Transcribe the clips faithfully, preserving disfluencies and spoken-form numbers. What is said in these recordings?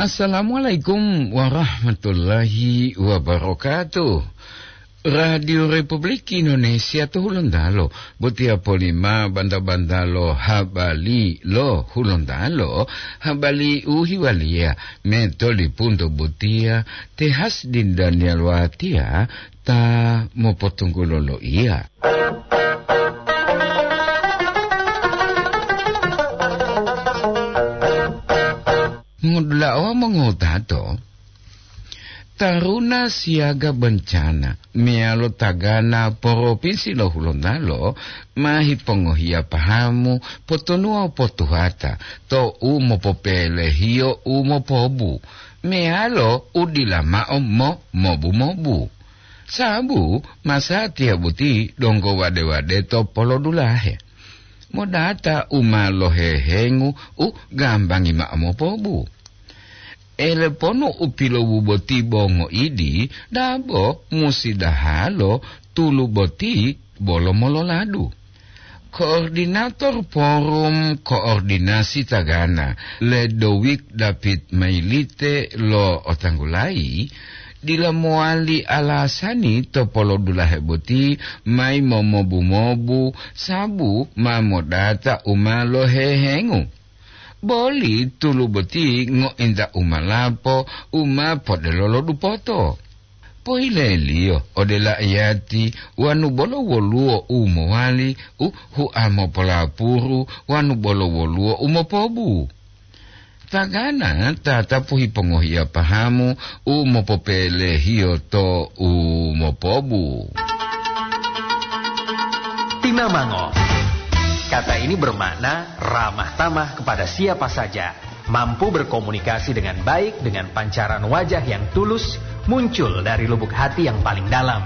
Assalamualaikum warahmatullahi wabarakatuh. Radio Republik Indonesia to Hulontalo, botiya polima banta-bantalo habari lo Hulontalo, habari u hiwaliya metolipunto botiya te Hasdin Daniel Watiya ta mopotunggulo loiya. Mongodula'a wawu mongotato, taruna siyaga bencana meyalo tagana Propinsi lo Hulontalo ma hipongohiya pahamu potonuwa potuhata to u mopopelehiyo u mopobu meyalo u dila ma'o mo mobu-mobu. Sabu masatiya boti donggo wade-wade to polodulahe. Modata u ma lohehengu u gambangi ma'o mopobu. Eleponu u pilowu boti bo ngoidi, dabo musi dahalo tulu boti bolo mololadu. Koordinator Forum Koordinasi Tagana, Ledowik David Mailite lo otanggulayi, dila mowali alasani to polodulahe boti mayi momobu-mobu sabu ma modata u ma lohehengu. Boli tulu boti ngointa u ma lapo u ma podelolo dupoto. Pohileliyo ode la'iyati wanu bolo woluwo u mowali u hua mopolapuru wanu bolo woluwo u mopobu. Tagana tatapu hipongohiya pahamu u mopopelehiyo to u mopobu. Tinamango. Kata ini bermakna ramah tamah kepada siapa saja, mampu berkomunikasi dengan baik dengan pancaran wajah yang tulus muncul dari lubuk hati yang paling dalam.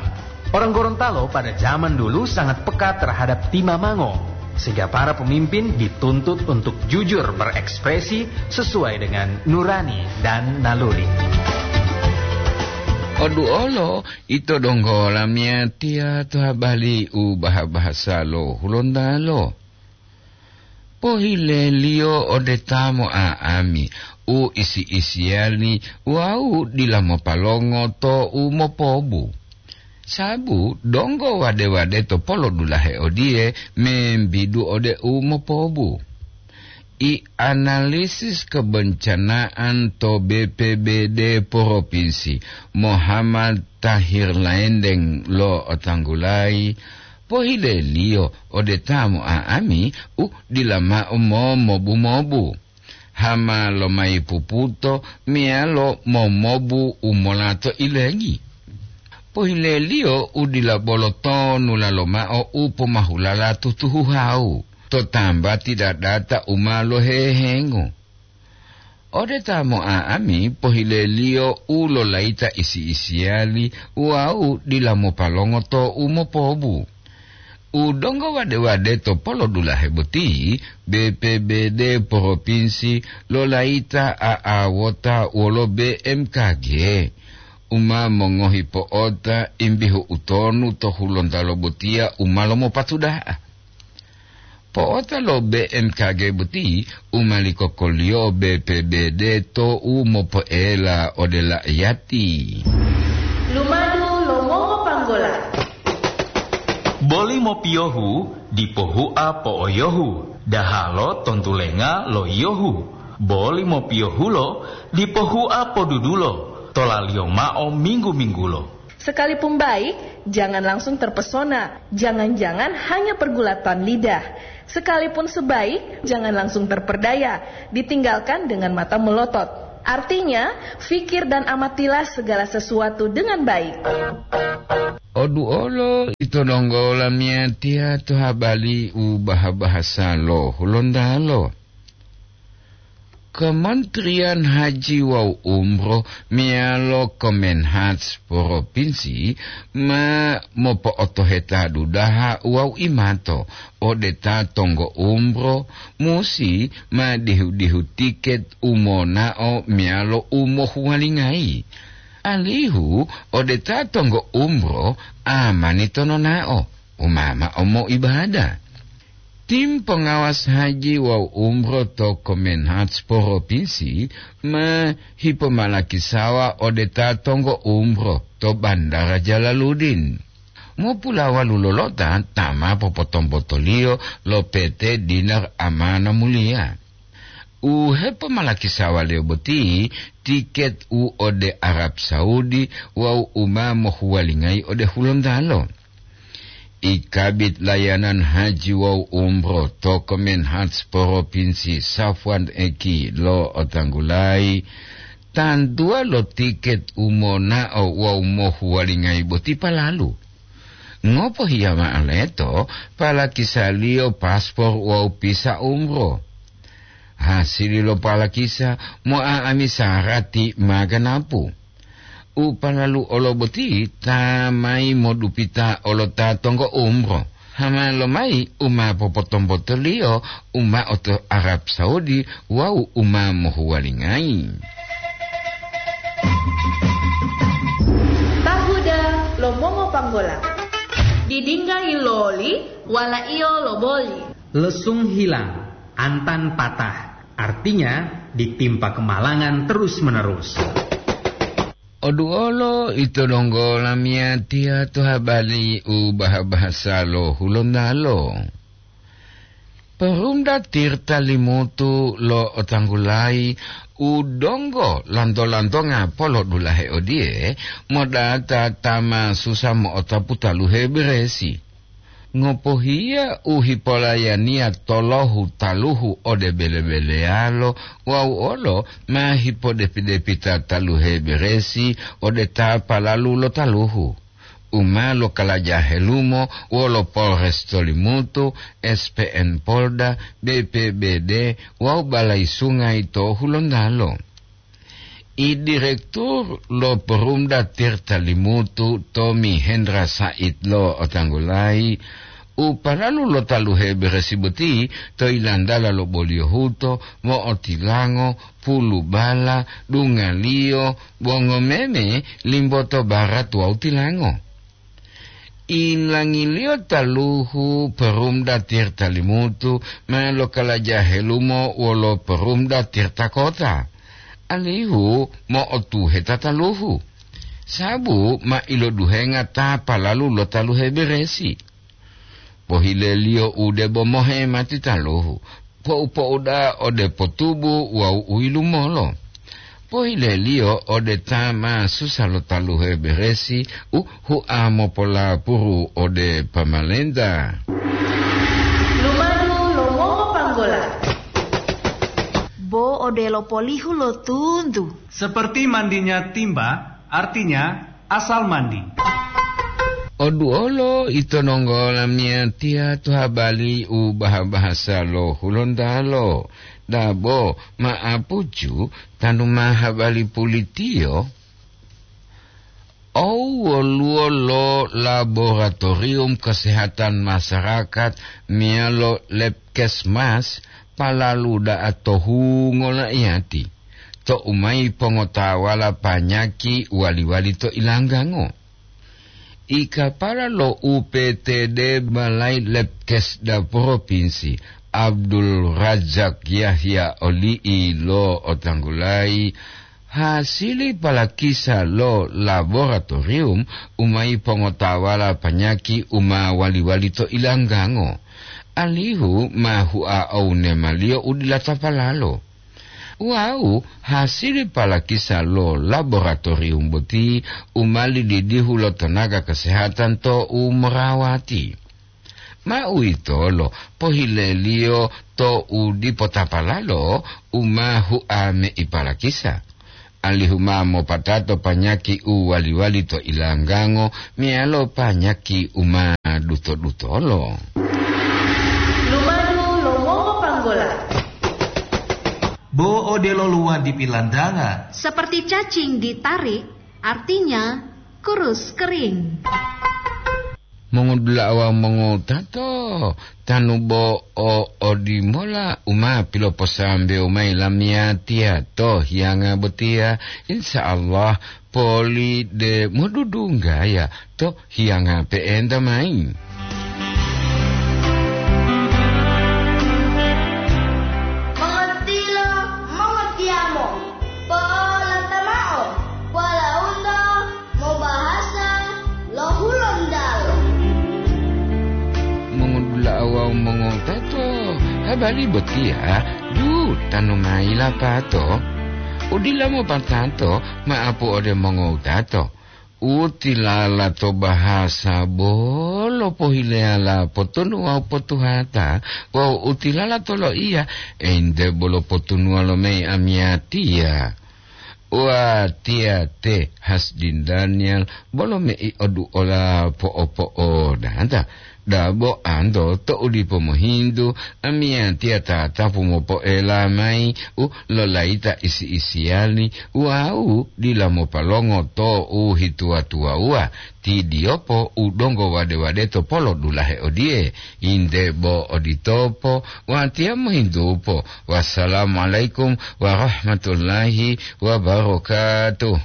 Orang Gorontalo pada zaman dulu sangat peka terhadap timamango, sehingga para pemimpin dituntut untuk jujur berekspresi sesuai dengan nurani dan naluri. Oduolo ito donggo lamiyatiya to habari u baha-bahasa lo Hulontalo. Pohileliyo ode ta mo'a'ami u isi-isiyali wawu dila mopalongo to u mopobu. Sabu donggo wade-wade to polodulahe odiye membidu ode u mopobu. I analisis kebencanaan to B P B D Provinsi, Muhammad Tahir Laendeng lo otanggulayi, pohileliyo ode ta mo'a'ami u dila mao momobu-mobu, hama lomayi puputo meyalo momobu u molato ilengi. Pohileliyo u dila bolo tonu lalo mao u pomahulala tutuhuhawu to tambati dadata u ma lohehengo. Ode ta mo'a'ami pohileliyo u lolayita isi-isiyali wawu dila mopalongo to u mopobu. U donggo wade-wade to polodulahe boti, B P B D Provinsi lolayita a'awota wolo B M K G, u ma mongohi po'ota imbihu utonu to Hulontalo botiya u ma lomopatuda'a. Po'ota lo B M K G boti u ma likokoliyo B P B D to u mopoela ode la'iyati. Lumadu lo mongopanggola. Boli mopiyohu dipo hua po'oyohu, dahalo tontulenga lo yiyohu. Boli mopiyohulo dipo hua podudulo, tolaliyo mao minggu-minggulo. Sekalipun baik, jangan langsung terpesona. Jangan-jangan hanya pergulatan lidah. Sekalipun sebaik, jangan langsung terperdaya. Ditinggalkan dengan mata melotot. Artinya, fikir dan amatilah segala sesuatu dengan baik. Oduolo ito donggo lamiyatiya to habari u baha-bahasa lo Hulontalo. Kementerian Haji wawu Umroh meyalo Kemenhaj Provinsi ma mopo'otoheta dudaha wawu imato ode ta tonggo umroh musi ma dihu-dihu tiket u monao meyalo u mohuwalingayi, alihu ode ta tonggo umroh amani tononao u ma mao moibada. Tim pengawas haji wawu umroh to Kemenhaj Provinsi ma hipomalakisawa ode ta tonggo umroh to Bandara Jalaluddin. Mopulawalu lolota ta ma popotombotoliyo lo P T Dinar Amana Mulia. U hepomalakisawa-Liyo boti tiket u ode Arab Saudi wawu u ma mohuwalingayi ode Hulontalo. Ikabit layanan haji wawu umroh to Kemenhaj Provinsi Safwan Eki lo otanggulayi, tantuwa lo tiket u monao wawu mohuwalingayi boti palalu. Ngopohiya mao leto palakisaliyo paspor wawu pisa umroh. Hasili lo palakisa mo'a'ami sarati ma ganapu. U palalu olo boti ta mayi modupita olo ta tonggo umroh. Hama lomayi u ma popotombotoliyo u mao to Arab Saudi wawu u ma mohuwalingayi. Tahuda lo mongo panggola. Didingga yiloli, walaiyo loboli. Lesung hilang, antan patah. Artinya, ditimpa kemalangan terus-menerus. Oduolo ito donggo lamiyatiya to habari u baha-bahasa lo Hulontalo. Perumda Tirta Limutu lo otanggulayi u donggo lanto-lantonga polodulahe odiye, modata ta ma susa mo'otapu taluhe beresi. Ngopohiya u hipolayaniya tolohu taluhu ode bele-beleyalo wawu olo ma hipodepi-depita taluhe beresi ode ta palalu lo taluhu, u ma lokalaja helumo wolo Polres to Limutu, S P N Polda, B P B D wawu Balai Sungai to Hulontalo. I Direktur lo Perumda Tirta Limutu, Tommy Hendra Said lo otanggulayi, u paralu lo taluhe beresi boti to ilantala lo boliyohuto, mo'otilango, pulubala, dungaliyo, bongomeme, limboto barat wawu tilango. Ilangiliyo taluhu Perumda Tirta Limutu ma lokalaja helumo wolo Perumda Tirta Kota, alihu mo'otuhe tataluhu, sabu ma iloduhenga ta palalu lo taluhe beresi. Pohileliyo u debo mohe mati taluhu, po'u-po'u da'a ode potubu wawu u yilumolo. Pohileliyo ode ta ma susa lo taluhe beresi u hua mopolapuru ode pamalenta. Lumadu lo mongo panggola. Bo odelo polihu lo tuntu. Seperti mandinya timba, artinya asal mandi. Oduolo ito nonggo lamiyatiya to habari u baha-bahasa lo Hulontalo, dabo ma'apucu tanu ma habari pulitiyo, ou woluwo lo laboratorium kesehatan masyarakat meyalo Labkesmas palalu da'a to hungo laiyati, to u mayi pongotawala panyaki wali-wali to ilanggango. I kapala lo U P T D Balai Labkesda Propinsi, Abdul Razak Yahya Oli'i lo otanggulayi, hasili palakisa lo laboratorium u mayi pongotawala panyaki u ma wali-wali to ilanggango, alihu ma hua owu nemaliyo u dila tapalalo. Wawu hasili palakisa lo laboratorium boti u ma lididihu lo tenaga kesehatan to u morawati. Ma uwitolo pohileliyo to u dipo tapalalo u ma hua meipalakisa, alihu ma mopatato panyaki u wali-wali to ilanggango meyalo panyaki u ma duto-dutolo. Lumadu lo mongo panggola. Bo odelo luwadi pilandanga. Seperti cacing ditarik, artinya kurus kering. Mongodula'a wawu mongowutato, tanu bo o odimola u ma piloposambewu mayi lamiyatiya to hiyanga botiya, insya Allah poli de modudunggaya to hiyanga pe'enta mayi. Bali botiya, dutanu mayi lapato, udila mopatato ma'apu ode mongowutato. Utilala to bahasa bolo pohileyala potonu wawu potuhata, wawu utilala to loiya, ente bolo potunuwa lo mayi amiyatiya. Watiya te Hasdin Daniel bolo mei oduola po'o-po'odata. Dabo anto to'u dipo mohintu, amiyatiya tatapu mopoela mayi u lolayita isi-isiyali wawu dila mopalongo to u hituwa-tuwawuwa, ti diyopo u donggo wade-wade to polo dulahe odiye, inde bo oditopo, watiya mohintupo. Wassalamualaikum warahmatullahi wabarakatuh.